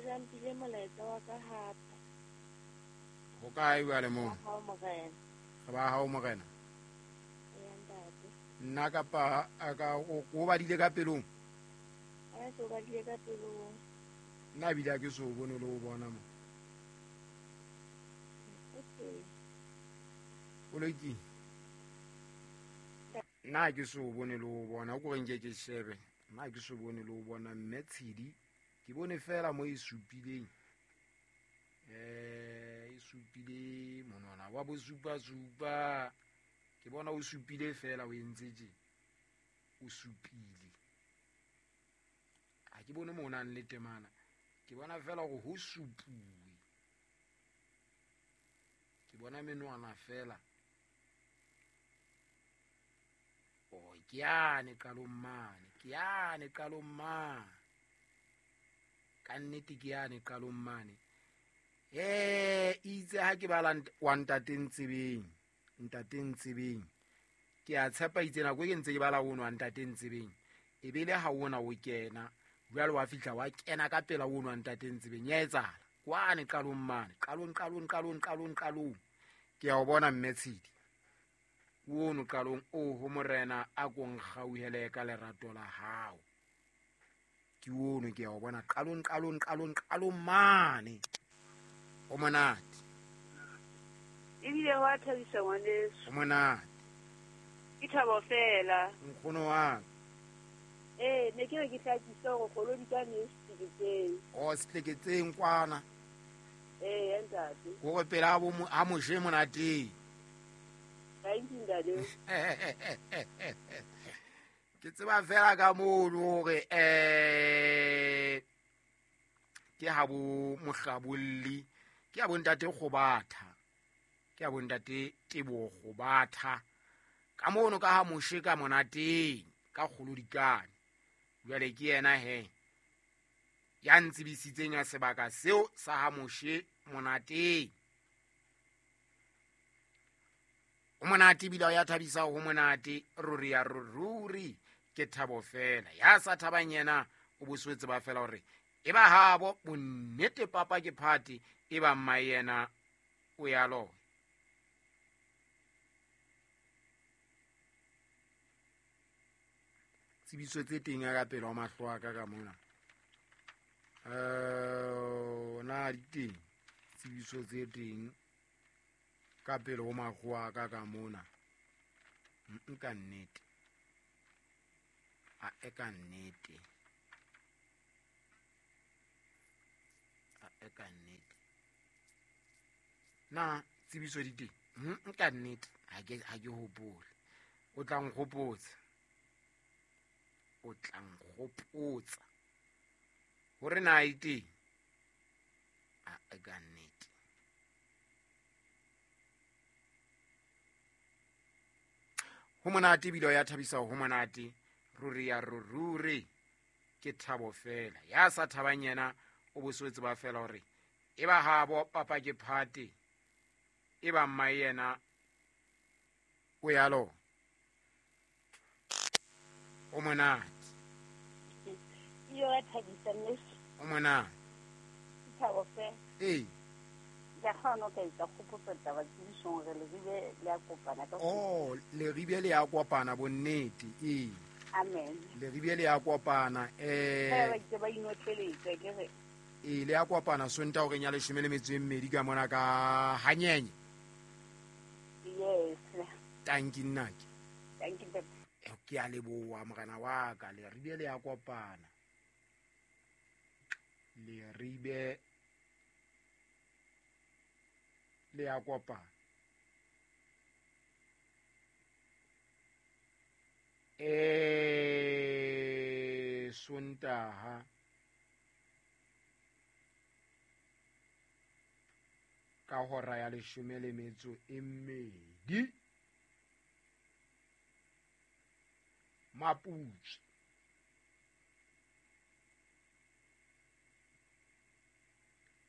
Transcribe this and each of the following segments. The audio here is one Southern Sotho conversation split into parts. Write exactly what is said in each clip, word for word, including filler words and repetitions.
jampile molaetsa wa ka hape. Ho kae jwale moo? Hao morena. Re ba hao morena. Eya ntate. Nna kapa a ka o o badile ka pelong? A se o badile ka pelong. Nna bile ha ke so bone le o bona mo. Okay. O lokile. Nna ke so bone le o bona, o ko re nke ke shebe. Nna ke so bone le o bona mme Tshedi. Ke bone fela mo e supileng. Eh, e supile monwana wa bosupa supa. Ke bona o supile fela o entse tje. O supile. Ha ke bone mo o nang le temana. Ke bona fela hore ho supuwe. Ke bona menwana fela. Oh, ke yane qalong mane, ke yane qalong mane. Ka nnete ke yane qalong mane. Eh, itse ha ke bala wa ntate Ntsebeng, ntate Ntsebeng. Ke a tshepa itse nako e ke ntse ke bala ono wa ntate Ntsebeng. E be le ha ona o kena, jwale wa fihla wa kena ka pela ono wa ntate Ntsebeng. Ya etsahala. Kwane qalong mane, qalong qalong qalong qalong qalong. Ke a o bona mme Tshedi. Ono qalong o ho morena a ko nkgauhele ka lerato la hao. Ke ono ke a o bona qalong qalong qalong qalong mane. O monate. Ebile wa thabisa ngwaneso. O monate. Ke thabo fela. Nkgono wa ka. Eh, ne ke re ke hlakise hore kgolo di ka ne setleketseng. O setleketseng kwana. Eh, ntate. Hore pela bo ha Moshe monateng. Thank you, ntate. Ke tseba fela ka mono hore eh ke ha bo mohlabolli, ke ha bo ntate Kgobatha, ke ha bo ntate Teboho Kgobatha. Ka mono ka ha Moshe ka monateng ka kgolodikane. Jwale ke yena he ya ntsebisitseng ya sebaka seo sa ha Moshe monateng. O monate ebile ya thabisa ho monate ruri ya ruri ke thabo fela. Ya sa thabang yena o boswetse ba fela hore e ba habo bonnete papa ke phate e ba mma yena o ya lo. Tsebiso tse teng ya ka pele wa mahlo a ka ka mona. Eh, na di teng tsebiso tse teng ka pele ho mahlo a ka ka mona. Nka nnete. A e ka nnete. A e ka nnete. Na tsebiso di teng? Nka nnete. Ha ke ha ke hopole. O tla nkgopotsa. O tla nkgopotsa. Hore na e teng? A e ka nnete. Ho monate ebile ya thabisa ho monate ruri ya ruri ke thabo fela. Ya sa thabang yena o boswetse ba fela hore e ba habo papa ke phate e ba mma yena o ya lo. O monate. Yo ya thabisa mme. O monate. Thabo fela. Eh. Ya kgona ka etsa kgopotso taba tsebisong re Leribe le a kopana ka. Oh, Leribe le a kopana bonnete. Eh. Amen. Leribe le a kopana eh. Ba itse ba inotleletsa ke re. Eh, le a kopana Sonta hore nya leshome le metso e mmedi ka mona ka hanyenye. Yes. Thank you nnake. Thank you. Ke a leboha morena wa ka. Leribe le a kopana. Leribe le a kopana. Eh, Sontaha ka hora ya leshome le metso e mmedi. Maputswe.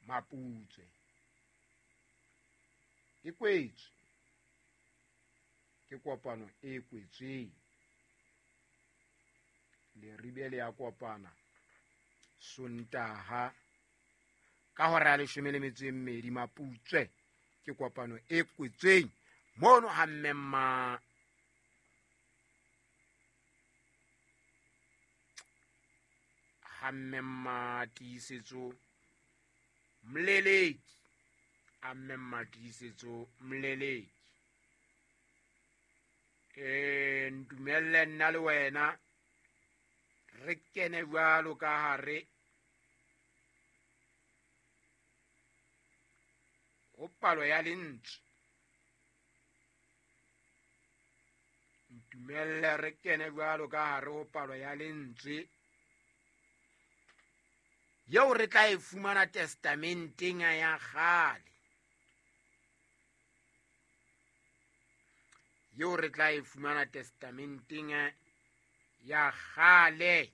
Maputswe. E kwetswe. Ke kopano e kwetsweng. Leribe le a kopana Sontaha Ka hora ya leshome le metso e mmedi Maputswe ke kopano e kwetsweng mono ha mmemma ha mmemma Tiisetso Mleleki, a mmemma Tiisetso Mleleki. E ntumelle nna le wena re kene jwalo ka hare ho palo ya lentswe. Ntumelle re kene jwalo ka hare ho palo ya lentswe yeo re tla e fumana testamenteng ya kgale, yeo re tla e fumana testamenteng ya kgale,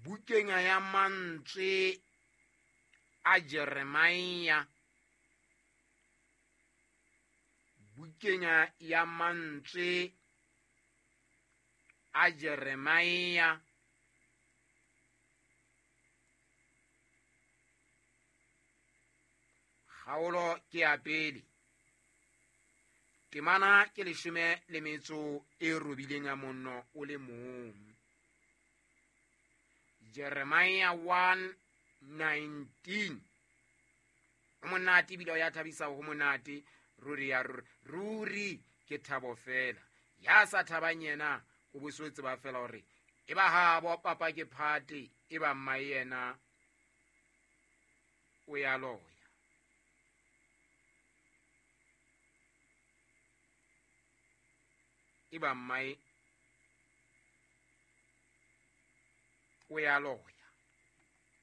bukeng ya mantswe a Jeremia, bukeng ya mantswe a Jeremia kgaolo ke ya pele, temana ke leshome le metso e robileng ya monno o le mong. Jeremiah one nineteen. Ho monate ebile o ya thabisa, ho monate ruri ya ruri, ruri ke thabo fela. Ya sa thabang yena o bo so tseba fela hore e ba habo papa ke phate, e ba mma yena o ya loya. E ba mmae o ya loya.